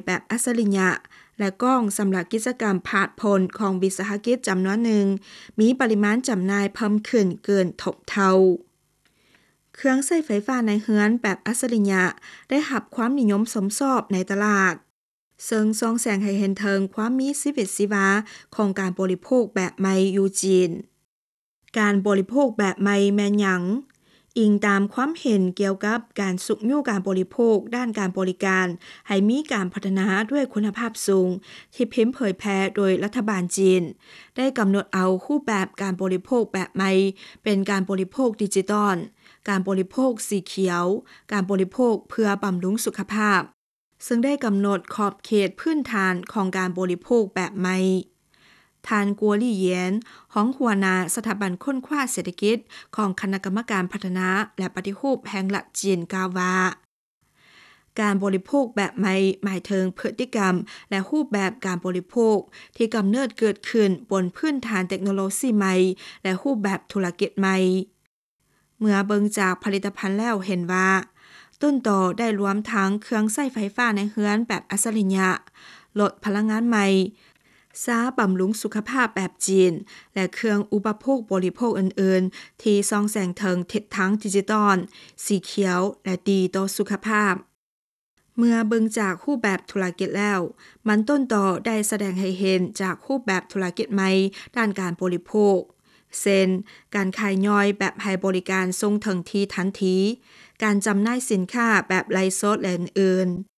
ແບບອັດສະລິຍະ ແລະ ກ້ອງສຳລັບກິດຈະກຳພາດພົ້ນຂອງວິສາຫະກິດຈຳນວນໜຶ່ງ ມີປະລິມານຈຳໜ່າຍເພີ່ມຂຶ້ນເກີນທົບເທົ່າ. ເຄື່ອງໃຊ້ໄຟຟ້າໃນເຮືອນແບບອັດສະລິຍະໄດ້ຮັບຄວາມນິຍົມຊົມຊອບໃນຕະຫຼາດ, ເຊິ່ງສ່ອງແສງໃຫ້ເຫັນເຖິງຄວາມມີຊີວິດຊີວາຂອງການບໍລິໂພກແບບໃໝ່ຢູ່ຈີນ. ການບໍລິໂພກແບບໃໝ່ແມ່ນຫຍັງ? ອີງຕາມຄວາມເຫັນກ່ຽວກັບການຊຸກຍູ້ການບໍລິໂພກດ້ານການບໍລິການ ໃຫ້ມີການພັດທະນາດ້ວຍຄຸນນະພາບສູງ ທີ່ພິມເຜີຍແຜ່ໂດຍລັດຖະບານຈີນ ໄດ້ກຳນົດເອົາຮູບແບບການບໍລິໂພກແບບໃໝ່ ເປັນການບໍລິໂພກດິຈິຕອນ, ການບໍລິໂພກສີຂຽວ, ການບໍລິໂພກເພື່ອບຳລຸງສຸຂະພາບ, ເຊິ່ງໄດ້ກຳນົດຂອບເຂດພື້ນຖານຂອງການບໍລິໂພກແບບໃໝ່. ທ່ານ ກົວລີ້ ຢຽນ ຮອງຫົວໜ້າສະຖາບັນຄົ້ນຄວ້າເສດຖະກິດຂອງຄະນະກຳມະການພັດທະນາ ແລະ ປະຕິຮູບແຫ່ງລັດຈີນ ກ່າວວ່າ ການບໍລິໂພກແບບໃໝ່ໝາຍເຖິງພຶດຕິກຳ ແລະ ຮູບແບບການບໍລິໂພກທີ່ກຳເນີດເກີດຂຶ້ນບົນພື້ນຖານເຕັກໂນໂລຊີໃໝ່ ແລະ ຮູບແບບທຸລະກິດໃໝ່. ເມື່ອເບິ່ງຈາກຜະລິດຕະພັນແລ້ວເຫັນວ່າ ຕົ້ນຕໍໄດ້ລວມທັງເຄື່ອງໃຊ້ໄຟຟ້າໃນເຮືອນແບບອັດສະລິຍະ, ລົດພະລັງງານໃໝ່, ຊາບຳລຸງສຸຂະພາບແບບຈີນ ແລະ ເຄື່ອງອຸປະໂພກບໍລິໂພກອື່ນໆ ທີ່ສ່ອງແສງເຖິງທິດທາງດິຈິຕອນ, ສີຂຽວ ແລະ ດີຕໍ່ສຸຂະພາບ. ເມື່ອເບິ່ງຈາກຮູບແບບທຸລະກິດແລ້ວ, ມັນຕົ້ນຕໍໄດ້ສະແດງໃຫ້ເຫັນຈາກຮູບແບບທຸລະກິດໃໝ່ດ້ານການບໍລິໂພກ ເຊັ່ນ ການຂາຍຍ່ອຍແບບໃຫ້ບໍລິການສົ່ງເຖິງທີ່ທັນທີ, ການຈຳໜ່າຍສິນຄ້າແບບໄລຟ໌ສົດ ແລະ ອື່ນໆ.